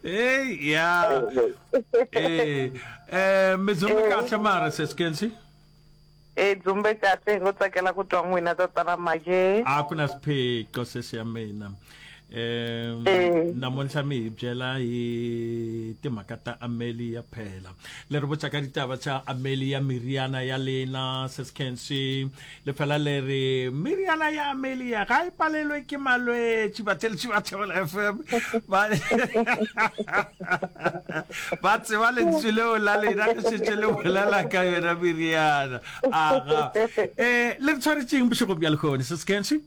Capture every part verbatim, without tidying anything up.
Hey, ya. Ee, eh medzumbe kahle mara seskensi. E dzumbe kahle hi ngo tsakela ku twa n'wina tatana Make. A ku na swiphiqo sesi ya mina. Um Eh. namuntlha mi hi byela hi timhaka ta Amelia phela. Le ri botša ka ditaba tša Amelia meriana ya lena seskensi le fela le re meriana ya Amelia ga e palelwe ke malwetši batheletši ba Thobela F M ba ba tseba lentswe leo la lena ge šetše le bolela ka yona meriana aga. um le re tshwaretšeng bošego bja lehono, seskensi?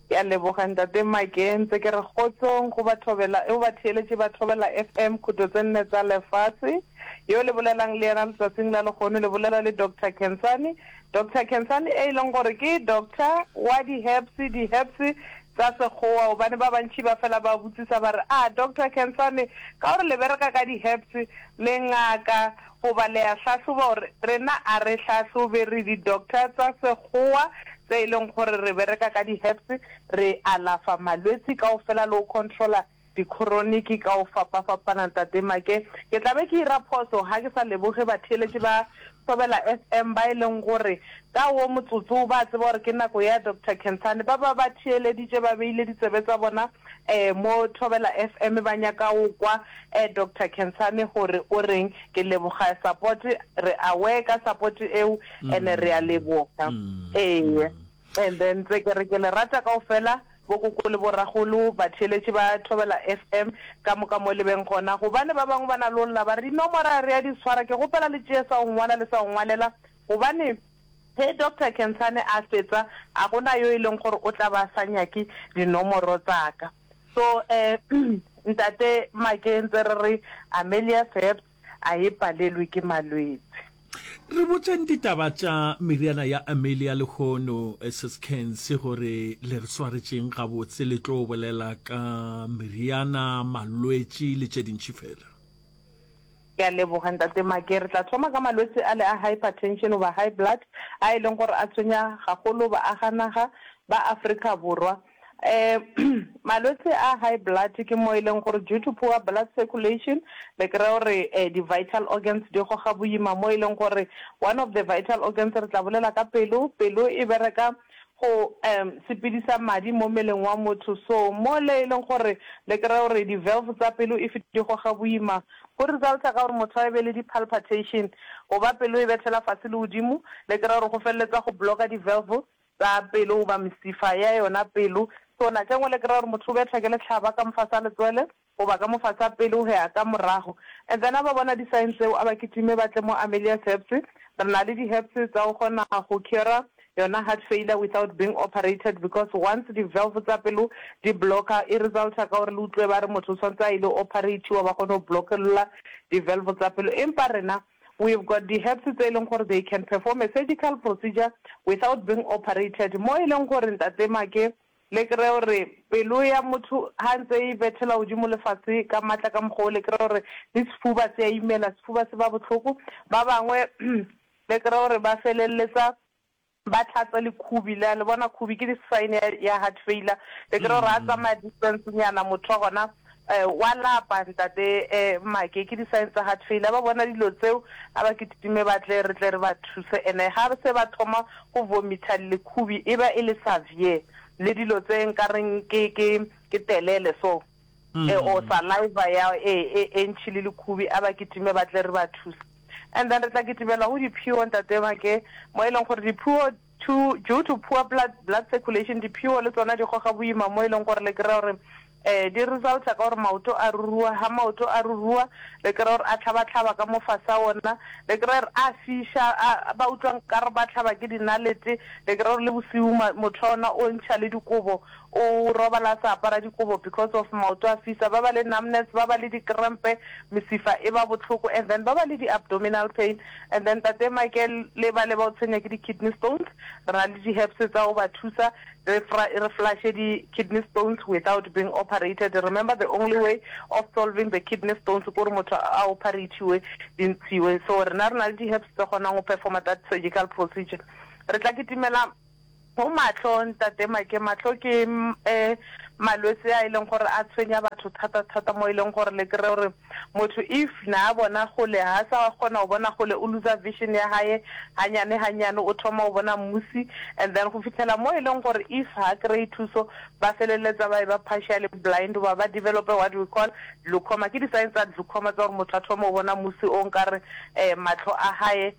Ke a leboga ntate Make, ntse ke re kgotsong go bathobela go batheeletši ba Thobela F M khuto tse nne tsa lefase. Yo le bolelang le yena letsatsing la lehono le bolela le Doctor Khensani. Doctor Khensani e leng gore ke doctor wa di-herbs, di-herbs tsa sekgowa, gobane ba bantši ba fela ba botsisa ba re, a Doctor Khensani, ka gore le bereka ka di-herbs, le ngaka goba le a hlahloba? Gore rena a re hlahlobe, re di-doctor tsa sekgowa tse e leng gore re bereka ka di-herbs, re alafa malwetsi kaofela le go controla di-chronic ka go fapafapana. Ntate Make, ke tla be ke ira phoso ga ke sa leboge batheeletši ba Thobela F M ba e leng gore ka wo motsotso ba tseba gore ke nako ya Doctor Khensani, ba ba ba theeleditše, ba beile ditsebe tsa bona um mo Thobela F M, ba nyaka go kwa um Doctor Khensani gore o reng. Ke leboga support, re aware ka support eo and re a leboga. Ee, and then tse ke re ke le rata kaofela, bokoko le boragolo, batheeletši ba Thobela F M ka moka mo le beng gona, gobane ba bangwe ba na le olla ba re dinomoro re ya di tshwara. Ke gopela le tšee sa go ngwala le sa go ngwalela, gobane ge Doctor Khensani a fetsa, a gona yo e leng gore o tla ba sa nyake dinomoro tsaka. So um ntate Make, ntse re re Amelia Herbs a e palelwe ke malwetse. Re botšeng ditaba tša meriana ya Amelia lehono, seskense, gore le re swaretšeng gabotse, le tlo bolela ka meriana, malwetši le tše dintši fela. Ke a leboga ntate Make. Re tla thoma ka malwetse a le a hypertension goba high blood a e leng gore a tshwenya gagolo baaganaga ba Afrika Borwa. um malwetse a high blood ke mo e leng gore due to poor blood circulation le kry-a gore um di-vital organs di goga boima, mo e leng gore one of the vital organs re tla bolela ka pelo. Pelo e bereka go um sepedisa madi mo mmeleng wa motho, so mo le e leng gore le kry-a gore di-valve tsa pelo if di goga boima, go resulta ka gore motho a be le di-palpitation, goba pelo e bethela fase le godimo. Le kry-a gore go feleletsa go blocka di-valve tsa pelo goba mesifa ya yona pelo. So nako e nngwe le kry-a gore motho o betha ke letlhaba ka mofase a letswele goba ka mofase a pelo go ya ka morago. And then a ba bona di-sign tseo, a ba kitime ba tle mo Amelia Herbs. Re na le di-herbs tsa go kgona go cure yona heart failure without being operated, because once di-valve tsa pelo di blocka, e resulta ka gore le utlwe ba re motho o tshwanetse a ile operatiwa, ba kgone go blockelola di-valve tsa pelo. Empa rena we've got di-herbs tse e leng gore they can perform a surgical procedure without being operated, mo e leng gore ntate Make le kry gore pelo ya motho ha ntse e bethela godimo lefase ka maatla ka mokgwa o, le kry gore le sefuba se a imela, sefuba se ba bohloko. Ba bangwe le kry gore ba feleletsa ba tlhatsa lekhubi le le bona khubi ke di-sign ya, ya heart failure. Le kry gore a tsamaya distance nyana, motho wa gona um wa lapa. Ntate um Make, ke di-sign tsa heart failure. Ba bona dilo tseo, a ba kitime ba tle re tle re ba thuse. And-e ga se ba thoma go vomita lekhubi, e ba e le severe, le dilo tse nkareng ke ke ke telele so mm. or saliva ya e e e ntšhi le lekhubi, a ba kitime ba tle re ba thuse. And then re tla kitimela go diphio, ntate Make, mo e leng gore diphio to due to poor blood, blood circulation, diphio le tsona di goga boima, mo e leng gore le kry-a gore um di resulta ka gore maoto a rurua. Ha maoto a rurua, le kry-a gore a tlhaba-tlhaba ka mo fase a ona, le kry-a gore a fiša, ba utlwa nkare ba tlhaba ke dinalete. Le kry-a gore le bosiu motho wa ona o ntšha le dikobo, o robala a sa apara dikobo because of maoto a fisa. Ba ba le numbness, ba ba le dikrempe, mesifa e ba botlhoko, and then ba ba le di-abdominal pain. And then tate Michael, le ba le ba o tshwenya ke di-kidney stones, re na le di-herbs tsa go ba thusa re re flushe di-kidney stones without being operated. Remember, the only way of solving the kidney stones ke gore motho a operatiwe, di ntshiwe. So rena re na le di-herbs tse kgonang go performa that surgical procedure. Re tla kitimela go matlho, ntate Make. Matlho ke um malwetse a e leng gore a tshwenya batho. batho thata thata mo e leng gore le kry gore motho if na a bona gole ha sa kgona go bona gole o loser vision ya hae hanyane hanyane o thoma go bona musi and then go fitlhela mo e leng gore if ha kry thuso ba feleletsa ba e ba partially blind goba ba develope what we call glaucoma ke di-signs tsa glaucoma tsa gore motho a thoma go bona musi o nkare um matlho a hae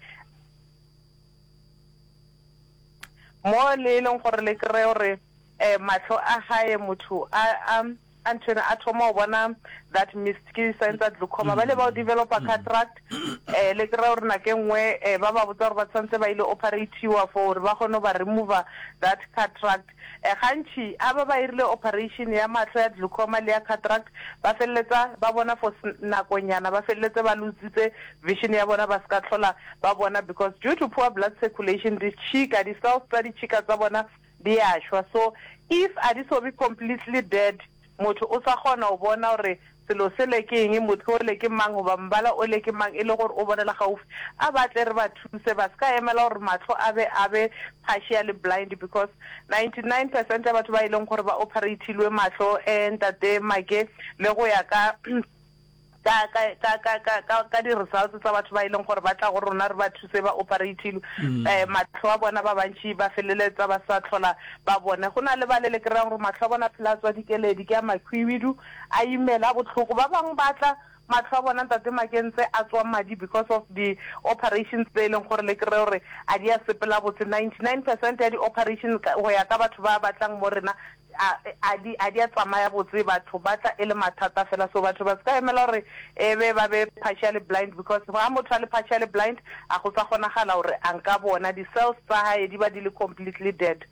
mo le e leng gore le kry gore um mahlo a gae motho a a a nthwena a thoma go bona that mist ke di-sign tsa glaucoma ba le ba o developa cataract um le kry gore nako e nngwe um ba ba botsa gore ba tshwanetse ba ile operatiwa for gore ba kgone go ba remover that cataract um gantši a ba ba irile operation ya mahlo ya glaucoma le ya cataract ba feleletsa ba bona for nakonyana ba feleletse ba lositse vision ya bona ba se ka tlhola ba bona because due to poor blood circulation ditšhika di-cells tsa ditšhika tsa bona di a šwa so if a di so be completely dead motho o sa kgona go bona gore selo sele ke eng motho ole ke mang goba mmala ole ke mang e le gore o bonela gaufi a ba tle re ba thuse ba se ka emela gore mahlo a be a be partially blind because ninety-nine percent ya batho ba e leng gore ba operatilwe mahlo um ntate Make le go ya ka ka ka ka ka ka ka ka di-results tsa batho ba e leng gore ba tla go rona re ba thuse ba operatilwe um mahlo a bona ba bantši ba feleletsa ba sa tlhola ba bone go na le ba le le kry-ang gore mahlo a bona phela a tswa dikeledi ke a makhwibidu a imela botlhoko ba bangwe ba tla mahlo a bona ntate Makentse a tswa madi because of the operations tse e leng gore le kry gore a di a sepela botse ninety-nine percent ya di-operation go ya ka batho ba batlang mo rena a a di a di a tsamaya botse batho ba tla e le mathata fela so batho ba se ka emela gore e be ba be partially blind because ga motho a le partially blind a go sa kgonagala gore a nka bona di-cells tsa hae di ba di le completely dead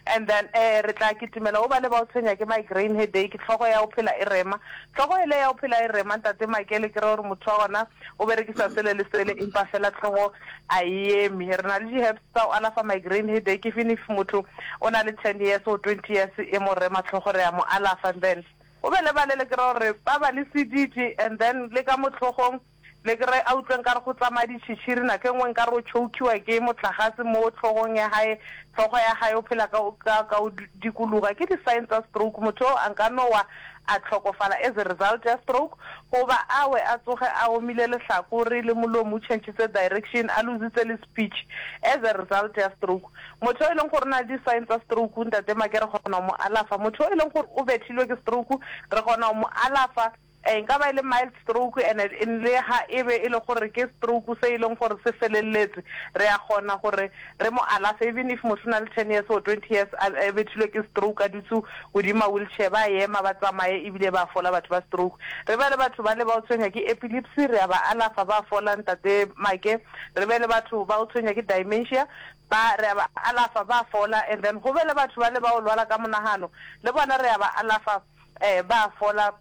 and then eh re tla kitimela o ba le ba o tshwenya ke migraine headache tlhogo ya o phela e rema tlhogo ele ya o phela e rema ntate Makele ke re gore motho wa gona o berekisa sele le sele empa fela tlhogo a e eme re na le di-herbs tsa go alafa migraine headache even if motho o na le ten years or twenty years e mo rema tlhogo re a mo alafa and then o be le ba le le kry gore ba ba le sedidi and then le ka mo tlhogong le kry a utlwe nkare go tsamaya ditšhitšhiri nako e nngwe nkare o chokiwa ke motlagase mo tlhogong ya hae tlhogo ya hae o phela ka ka ka o dikologa ke di-sign tsa stroke motho o a nka no wa a tlhokofala as a result ya stroke goba a we a tsoge a omile lehlakore le molomo o changitse direction a lositse le speech as a result ya stroke motho o e leng gore o na le di-sign tsa stroke ntate Make re kgona go mo alafa motho o e leng gore o bethilwe ke stroke re kgona go mo alafa e nka ba e le mild stroke and le ha e be e le gore ke stroke se e leng gore se feleletse re a kgona gore re mo alafe even if motho o na le ten years or twenty years a bethilwe ke stroke a dutse godima wheelchair ba ema ba tsamaye ebile ba fola batho ba stroke re be le batho ba le ba o tshwenya ke epilepsy re a ba alafa ba fola ntate Make re be le batho ba o tshwenya ke dementia ba re a ba alafa ba fola and then go be le batho ba le ba o lwala ka monagano le bona re a ba alafa um ba fola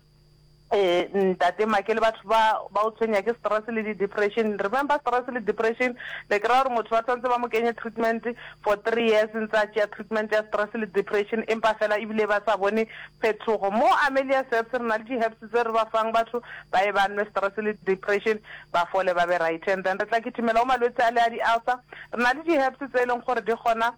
eh ntate Make le batho ba ba o tshwenya ke stress le di-depression remember stress le depression le kry-a gore motho ba tshwanetse ba mo kenye treatment for three years ntse a tšea treatment ya stress le depression empa fela ebile ba sa bone phetogo mo Amelia Herbs re na le di-herbs tse re ba fang batho ba e ba nwe stress le depression ba fole ba be right and then re tla kitimela go malwetse a le a di-ulcer re na le di-herbs tse e leng gore di kgona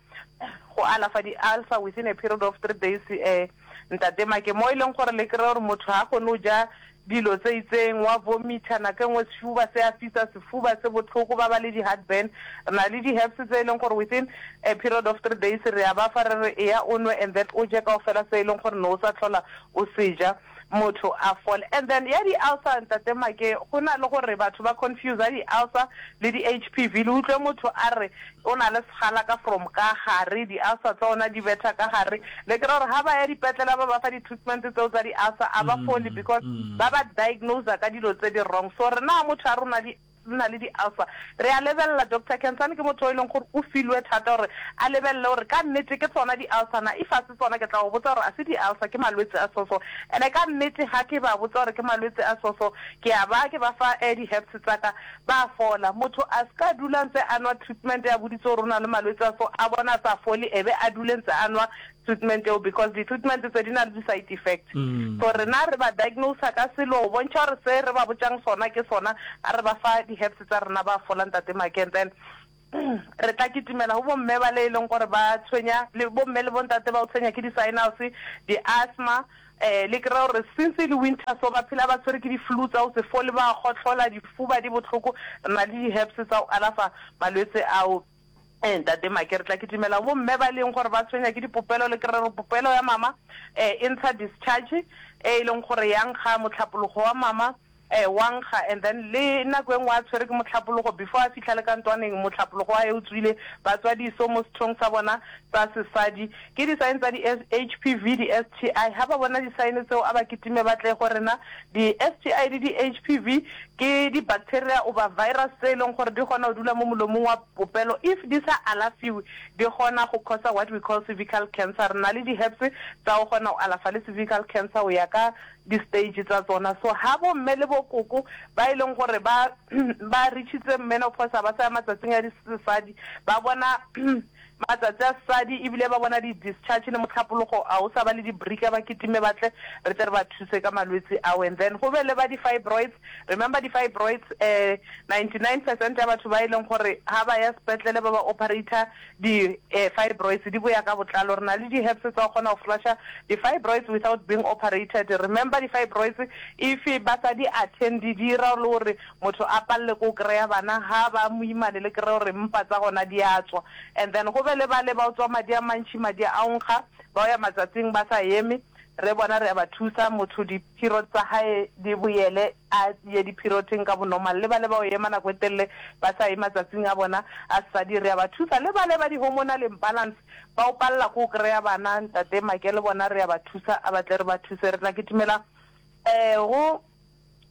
go alafa di-ulcer within a period of three days um ntate Make mo e leng gore le kry gore motho ga kgone go ja dilo tse itseng wa vomita nako e nngwe sefuba se a fisa sefuba se botlhoko ba ba le di-heartburn re na le di-herbs tse e leng gore within a period of three days re a ba fa re re eya o nwe and then o je kao fela se e leng gore ne o sa tlhola o se ja motho a fole and then ya di-ulcer ntate Make go na le gore batho ba confuse di-ulcer le di-H P V le utlwe motho a re o na le segala ka from ka gare di-ulcer tsa ona di betha ka gare le kry gore ga ba ya dipetlele ba ba fa di-treatment tseo tsa di-ulcer a ba fole because ba ba diagnose ka dilo tse di wrong so rena motho a rona di na le di-ulcer re a lebelela Doctor Kensane ke motho o e leng gore o filwe thata gore a lebelele gore ka nnete ke tsona di-ulcer na if a se tsona ke tla go botsa gore a se di-ulcer ke malwetse a soso and-e ka nnete ga ke ba botsa gore ke malwetse a soso ke a ba ke ba fa eh, di-herbs tsaka ba fola motho a se ka dula ntse a nwa treatment ya boditse gore o na le malwetse a so a bona a sa fole e be a dule ntse a nwa treatment eo because di-treatment tse di na le di-side effect Mm. so rena re ba diagnosa ka selo go bontšha gore se re ba botsang sona ke sona a re ba fa di-herbs tsa rena ba fola ntate Make and then re tla kitimela go bomme ba le e leng gore ba tshwenya le bomme le bontate ba o tshwenya ke di-sinus di-asthma um le kry-a gore since e le winter so ba phela ba tshwere ke di-flu tsa go se fole, ba kgohlola, difuba di bohloko. Re na le di-herbs tsa go alafa malwetse ao. Ee, Ntate Make, re tla kitimela go bomme ba e leng gore ba tshwenya ke dipopelo, le kry-e gore popelo ya mama um e ntsha discharge e e leng gore ya nkga, mohlapologo wa mama um wa nkga, and then le nako e nngwe a tshwere ke mohlapologo before a fihla le ka ntwaneng mohlapologo wa hae o tswile, ba tswa diso mo sethong sa bona sa sesadi. Ke di-sign tsa di H P V, di S T I. Ha ba bona di-sign tseo a ba kitime ba tle go rena. Di S T I le di H P V ke di-bacteria goba virus tse e leng gore di kgona go dula mo molomong wa popelo, if di sa alafiwe di kgona go causa what we call cervical cancer. Re na le di-herbs tsa go kgona go alafa le cervical cancer go ya ka di-stage tsa tsona. So ha bomme le bokoko ba e leng gore ba ba reachitse menopause, ba sa ya matsatsing a disesadi, ba bona matsatsi a sesadi ebile ba bona di-discharge le mohlapologo a o sa ba le di-brika, ba kitime ba tle re tle re ba thuse ka malwetse ao. And then go be le ba di-fibroids. Remember di-fibroids, um ninety-nine percent ya batho ba e leng gore ha ba ya sepetlele ba ba operator di-fibroids di boya ka botlalo. Re na le di-herbs tsa go kgona go flusha di-fibroids without being operated. Remember di-fibroids if ba sa di attend di dira le gore motho a palele ko kry-a bana, ha ba moimane le kry-e gore mpa tsa gona di a tswa. And then go be le ba le ba o tswa madi a mantši, madi a onkga, ba o ya matsatsing ba sa eme, re bona re a ba thusa, motho di-period tsa hae di boele a ye di-periodeng ka bonormal. Le ba le ba o ema nako e telele ba sa ye matsatsing a bona a sesadi, re a ba thusa. Le ba le ba di-hormonal imbalance ba o palela ko kry-a bana, Ntate Make, le bona re a ba thusa, a batle re ba thuse. Re tla kitimela um go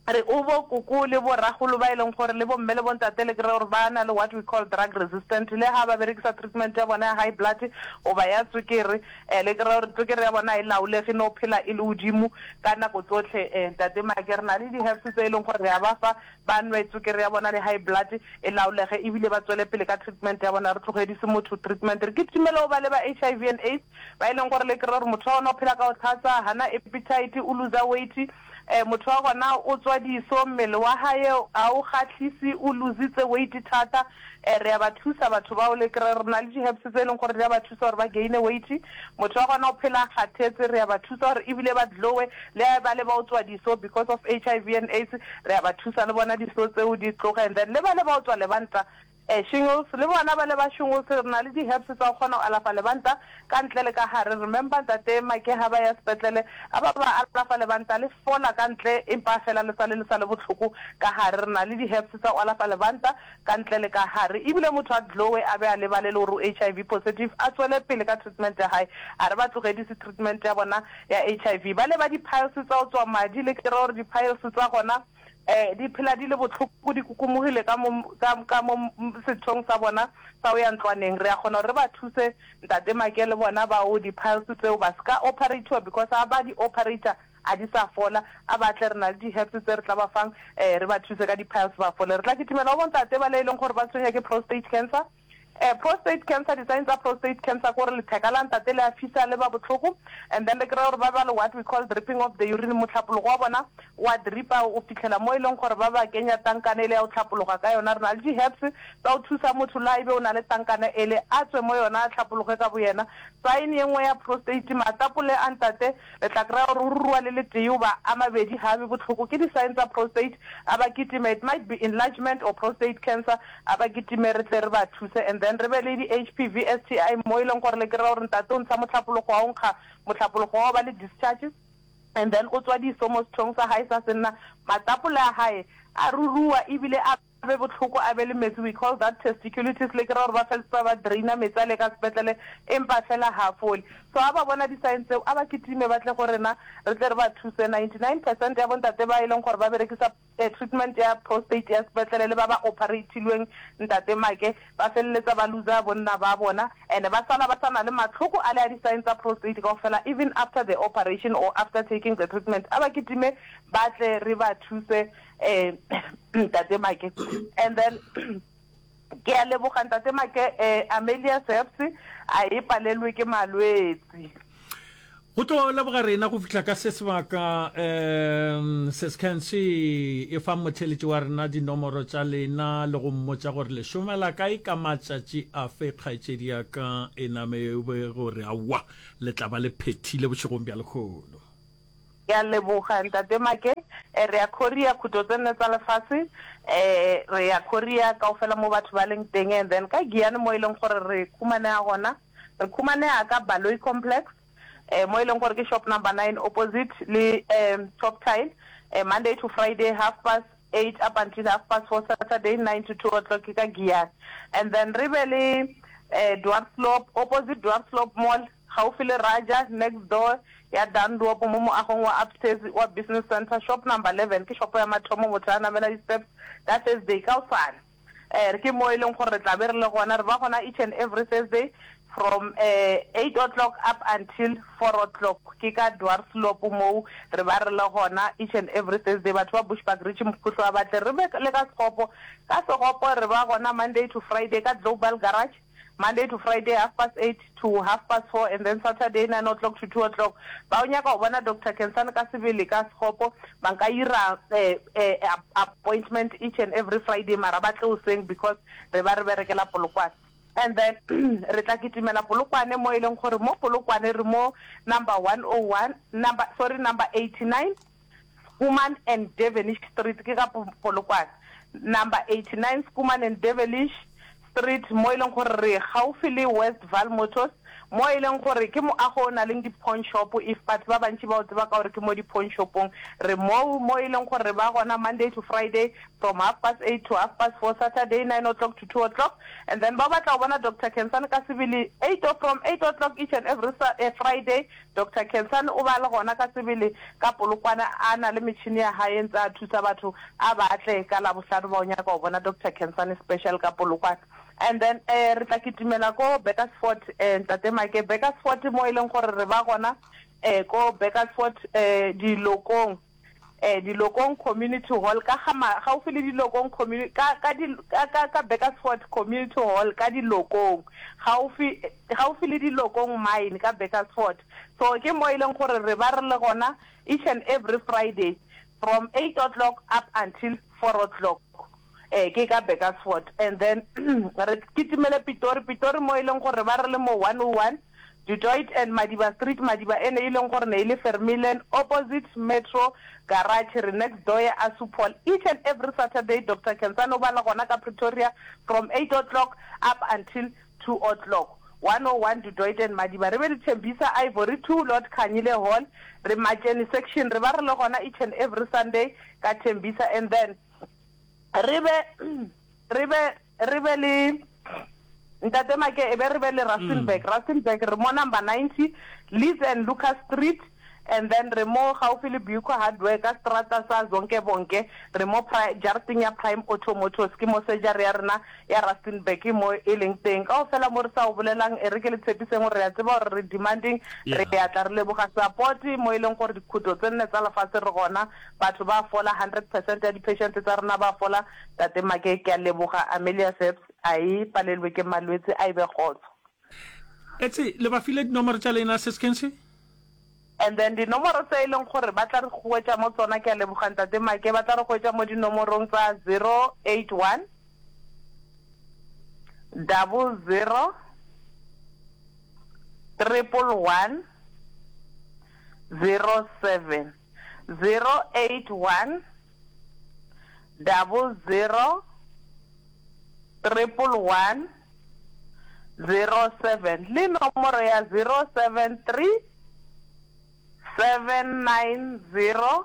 re o bo koko le bo ragolo ba e leng gore le bomme le bontate le kry-e gore ba na le what we call drug resistant, le ha ba berekisa treatment ya bona ya high blood goba ya tswekere, um le kry-e gore tswekere ya bona e laolege, no phela e le godimo ka nako tsotlhe. um Ntate Make, re na le di-herbs tse e leng gore re a ba fa ba nwe, tswekere ya bona le high blood e laolege ebile ba tswele pele ka treatment ya bona, re tlogedise motho treatment. Re kitimele go ba le ba H I V and AIDS ba e leng gore le kry-e gore motho wa gona o phela ka go tlhatsa, hana appetite, o loser weight, um motho wa gona o tswa diso, mmele wa hae a o kgahlise, o lositse weight thata. um re a ba thusa batho bao, le kry re na le di-herbs tse e leng gore di a ba thusa gore ba gaine weight. Motho wa gona o phela a kgathetse, re a ba thusa gore ebile ba glowe. Le ba le ba o tswa diso because of H I V and AIDS, re a ba thusa le bona diso tseo di tloge. And then le ba le ba o tswa lebanta, um shingles, le bona ba le ba shingles, re na le di-herbs tsa go kgona go alafa lebanta ka ntle le ka gare. Remember Ntate Make, ha ba ya sepetlele a ba ba alafa lebanta le fola ka ntle, empa fela le sale le sa le botlhoko ka gare. Re na le di-herbs tsa go alafa lebanta ka ntle le ka gare, ebile motho a glowe, a be a lebale le gore o H I V positive, a tswele pele ka treatment ya hae, a re ba tlogedise treatment ya bona ya H I V. Ba le ba di-piles tsa go tswa madi, le kry-e gore di-piles tsa gona um di phela di le botlhoko, di kokomogile ka mo ka mo sethong sa bona sa o ya ntlwaneng, re a kgona gore re ba thuse Ntate Make le bona bao di-piles tseo ba se ka operatiwa, because ha ba di operator a di sa fola. A batle, re na le di-herbs tse re tla ba fang, um re ba thuse ka di-piles ba fole. Re tla kitimela go bontate ba le e leng gore ba tshwenya ke prostate cancer. um prostate cancer, di-sign tsa prostate cancer ke gore letheka la ntate le a fisa, le ba botlhoko, and then le kry-e gore ba ba le what we call dripping of the urine, motlhapologo wa bona wa dripa o fitlhela mo e leng gore ba ba kenya tankane e le ya go tlhapologa ka yona. Re na le di-herbs tsa go thusa motho la ebe o na le tankane ele a tswe mo yona, a tlhapologe ka bo yena. Sign ye nngwe ya prostate, matapole a ntate le tla kry-a gore o rua le letee goba a mabedi ga a be botlhoko, ke di-sign tsa prostate. A ba kitime, it might be enlargement or prostate cancer, a ba kitime re tle re ba thuse. And then re be le di-H P V S T I mo e leng gore le kry-a gore ntate o ntsha motlhapologo wa o nkga, motlhapologo wa ba le discharge, and then o tswa diso mo sethong sa hae sa senna, matapole a hae a rurua ebile a be botlhoko, a be le metsi, we call that testiculitis, le kry-a gore ba feleletsa ba draina metsi a le ka sepetlele, empa fela ha fole. So ha ba bona di-sign tseo a ba kitime ba tle go rena re tle re ba thuse. ninety-nine percent ya bontate ba e leng gore ba berekisa treatment ya prostate ya sepetlele le ba ba operatilweng, Ntate Make, ba feleletsa ba loser bonna ba bona, and ba sala ba sana le matlhoko a le a di-sign tsa prostate kaofela even after the operation or after taking the treatment. A ba kitime ba tle re ba thuse, um Ntate Make. And then ke a leboga Ntate Make, um Amelia Seps a e palelwe ke malwetse. Go tlo leboga rena go fihla ka se sebaka. um Sescancy e fa motheletši wa rena dinomoro tša lena le go mmotša gore le šomela kae ka matšatši afe, kgaetšedi ya ka e name be gore aowa le tla ba le phethile bošegong bja lekgono. Ke a leboga Ntate Make. Eh, re ya Korea, khuto tse nne tsa lefase. Eh, re ya Korea kaofela mo batho ba leng teng. And then ka Giyani mo e leng gore re khumaneha gona, re khumaneha ka Baloyi Complex, eh, mo e leng gore ke shop number nine opposite le um Top Tile, eh, Monday to Friday half past eight up until half past four, Saturday nine to two o'clock ke ka Giyani. And then re be le eh, Dwarsloop, opposite Dwarsloop Mall, gaufi le Raja, next door ya Dandop mo moagong wa upstairs wa business center, shop number eleven, ke shopo ya mathomo motho a namela di-steps ka Thursday ka osane. Eh, ke mo e leng gore re tla be re le gona, re ba gona each and every Thursday from eh, eight o'clock up until four o'clock. Ke ka Dwarsloop moo re ba re le gona each and every Thursday. Batho ba Bushbuckridge, Mokhuhlo wa batle re be le ka Sekgopo. Ka Sekgopo re ba gona Monday to Friday ka Global Garage, Monday to Friday half past eight to half past four, and then Saturday nine o'clock to two o'clock. Ba o nyaka go bona Doctor Khensani ka sebele ka Sekgopo, ba nka ira eh, eh, appointment each and every Friday, mara ba tle hoseng because re ba re berekela Polokwane. And then re tla kitimela Polokwane mo e leng gore mo Polokwane re mo number one oh one, number, sorry, number eighty-nine Schoeman and Devenish Street, ke ka Polokwane, number eighty-nine Schoeman and Devenish Street, mo e leng gore re gaufi le Westval Motors, mo e leng gore ke moago o na leng di-pawn shop. If batho ba bantši ba o tseba ka gore ke mo di-pawn shopong, re moo mo e leng gore re ba gona Monday to Friday from half past eight to half past four, Saturday nine o'clock to two o'clock. And then ba batla go bona Doctor Khensani ka sebele, eight o from eight o'clock each and every uh, Friday, Doctor Khensani o ba le gona ka sebele ka Polokwane, a na le metšhini ya hae ntse a thusa batho. A batle ka Labohlano ba o nyaka go bona Doctor Khensani special ka Polokwane. And then eh re tla kitimela ko Burgersfort, eh Ntate Make. Burgersfort mo e leng gore re ba gona eh ko Burgersfort, eh Dilokong, eh Dilokong Community Hall, ka ga gaufi le Dilokong Community, ka ka di ka ka ka Burgersfort Community Hall ka Dilokong, gaufi gaufi le Dilokong Mine ka Burgersfort. So ke mo e leng gore re ba re le gona each and every Friday from eight o'clock up until four o'clock, eh ke ka Burgersfort. And then re kitimele Pitori. Pitori mo e leng gore ba re le mo one oh one Du Toit and Madiba Street, Madiba ene e leng gore ne e le Vermeulen, opposite Metro Garage, re next door ya Asupol. Each and every Saturday Doctor Khensani o ba le gona ka Pretoria from eight o'clock up until two o'clock, one oh one Du Toit and Madiba. Re be le Tembisa Ivory two, Lord Khanyile Hall, re Matjeni section, re ba re le gona each and every Sunday ka Tembisa. And then re be re be re be le Ntate Make, e be re be le Rustenburg. Rustenburg re mo number ninety Liz and Lucas Street, and then re mo gaufi le Buco Hardware ka strata sa Zonke Bonke, re mo jarateng ya Prime Auto Motors. Ke mo surgery ya rena ya Rustenburg ke mo e leng teng. Kaofela mo re sa o bolelang, e re ke le tshepiseng gore re a tseba gore re demanding, re ya tla re leboga support mo e leng gore dikhuto tse nne tsa lefatshe re gona, batho ba fola, hundred percent ya di-patient tsa rena ba fola. Tate Make, ke a leboga. Amelia Seps a e palelwe ke malwetse, a e be kgotso. Etse le ba file dinomoro tša lena, Seskense? And then dinomoro tse e leng gore ba tla re hwetša mo tsona, ke a leboga Ntate Make, ba tla re hwetša mo dinomorong tsa zero eight one double zero triple one zero seven, zero eight one double zero triple one zero seven, le nomoro ya zero seven three seven nine zero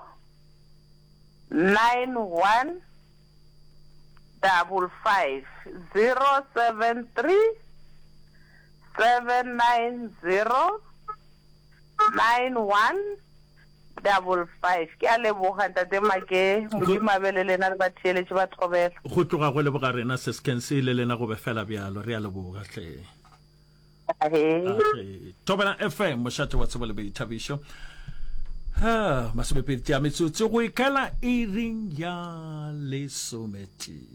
nine one double five, zero seven three seven nine zero nine one double five. Ke a leboga Ntate Make, Modimo a be le lena le batheeletši ba Thobela. Go tloga go leboga rena, Seskense, le lena go be fela bjalo. Re a leboga hle. Ahee. Thobela F M, mošate wa tsebo le boithabišo. Ha, masomepedi tša metsotso go ikela iring ya lesometee.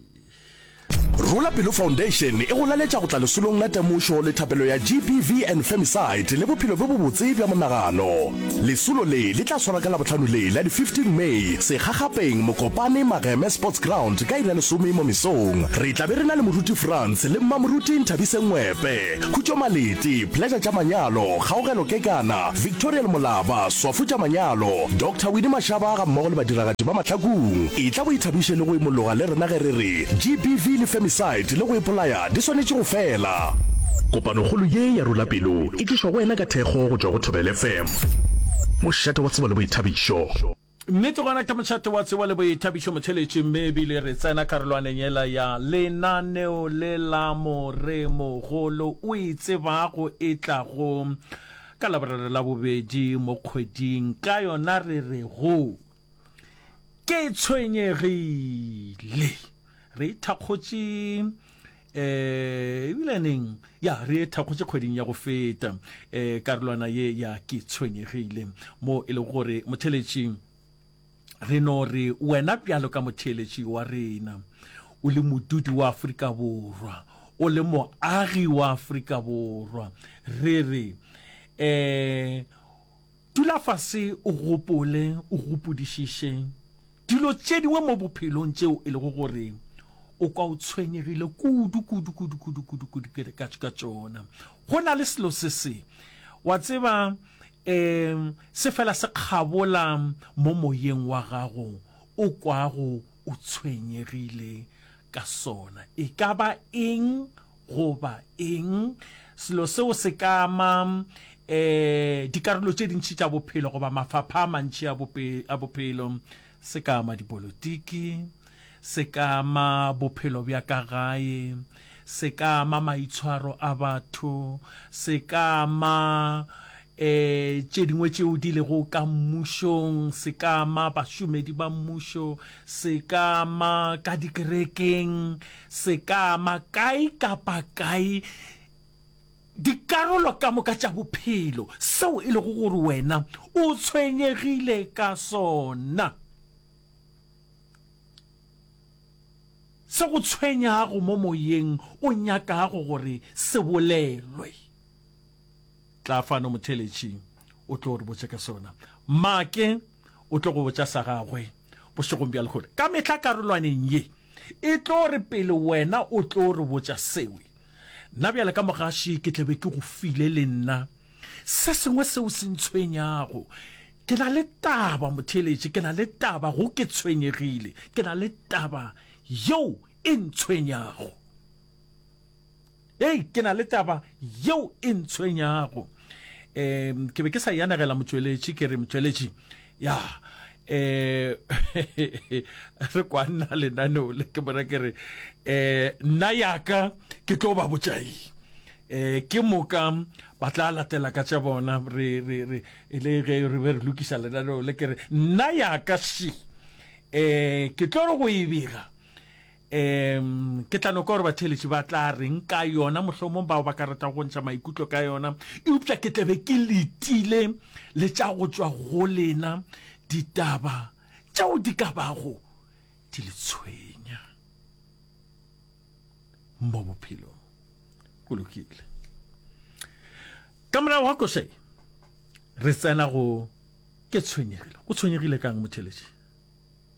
Rola Pelo Foundation e go laletša go tla lesolong la temošo le thapelo ya G B V and Femicide le bophelo bjo bobotse bja monagano. Lesolo le le tla swarwa ka Labohlano le la di fifteen May, Segagapeng, Mokopane, Mageme Sports Ground ka iri ya lesome mo mesong. Re tla be re na le Moruti Frans le Mmamoruti Nthabiseng Ngwepe, Khutšo Malete, Pleasure tša Manyalo, Kgaogelo Kekana, Victoriel Molaba, Swafu tša Manyalo, Doctor Winnie Mashaba gammogo le badiragatši ba Mahlakung. Etla o ithabiše le go imologa le rena ge re re G B V le Femicide le go ipolaya di swanetše go fela. Kopanokgolo ye ya Rola Pelo e tlišwa go wena ka thekgo go tšwa go Thobela F M, mošate wa tsebo le boithabišo. Nnete gona ke mošate wa tsebo le boithabišo motheletši, mme ebile re tsena karolwaneng yela ya lenaneo le la Moremogolo o e tsebago e tlago ka Laboraro la bobedi mo kgweding, ka yona re rego Ke Tshwenyegile. Re ithakgotše um ebile neng ya re e thakgotše kgweding ya go feta um karolwana ye ya Ke Tshwenyegile, mo e lego gore motheletši re no re wena bjalo ka motheeletši wa rena, o le modudi wa Afrika Borwa, o le moagi wa Afrika Borwa, re re um dula fase o gopole, o gopodišiše dilo tše dingwe mo bophelong tšeo e lego gore o kwa o tshwenyegile kudu, kudu, kudu, kudu, kudu, kudu ka, ka tšona. Go na le selo se se, wa tseba, um se fela se kgabola mo moyeng wa gago, o kwago o tshwenyegile ka sona. E ka ba eng goba eng, selo seo se ka ama um dikarolo tše dintši tša bophelo goba mafapha a mantši a bophelo. Se ka ama dipolotiki, se ka ama bophelo bja ka gae, se ka ama maitshwaro a batho, se ka ama um tše dingwe tšeo di lego ka mmušong, se ka ama bašomedi ba mmušo, se ka ama ka dikerekeng, se ka ama kae kapa kae, dikarolo ka moka tša bophelo, seo e lego gore wena o tshwenyegile ka sona. Se go tshwenyago mo moyeng o nyakago gore se bolelwe. Tla fano motheeletši o tlo re botša ka sona. Make o tlo go botša sa gagwe bošegong bja lehono. Ka mehla karolwaneng ye e tlo re pele wena o tlo re botša sewe. Nna bjale ka mogaši ke tla be ke go file le nna se sengwe seo se ntshwenyago. Ke na le taba motheeletši, ke na le taba go ke tshwenyegile, ke na le taba yeo e ntshwenyago. Hei, ke na le taba yeo e ntshwenyago. Um ke be ke sa e anegela motšweletši, ke re motšweletši, ya, um re kwa nna lenaneo le, ke bona ke re, um nna yaka ke tlo ba botša eng. Um ke moka ba tla latela ka tša bona, re, re, re, e le ge re be re lokiša lenaneo le, ke re nna yaka še, um ke tlo re go e bega. Um ke tla no kwa gore batheeletši ba tla reng ka yona, mohlomong bao ba ka ratago go ntšha maikutlo ka yona, eupša ke tla be ke letile le tša go tšwa go lena ditaba tšeo di ka bago di le tshwenya mo bophelong. Go lokile. Ka morago ga koša ye, re tsena go Ke Tshwenyegile. O tshwenyegile ka'ng motheeletši?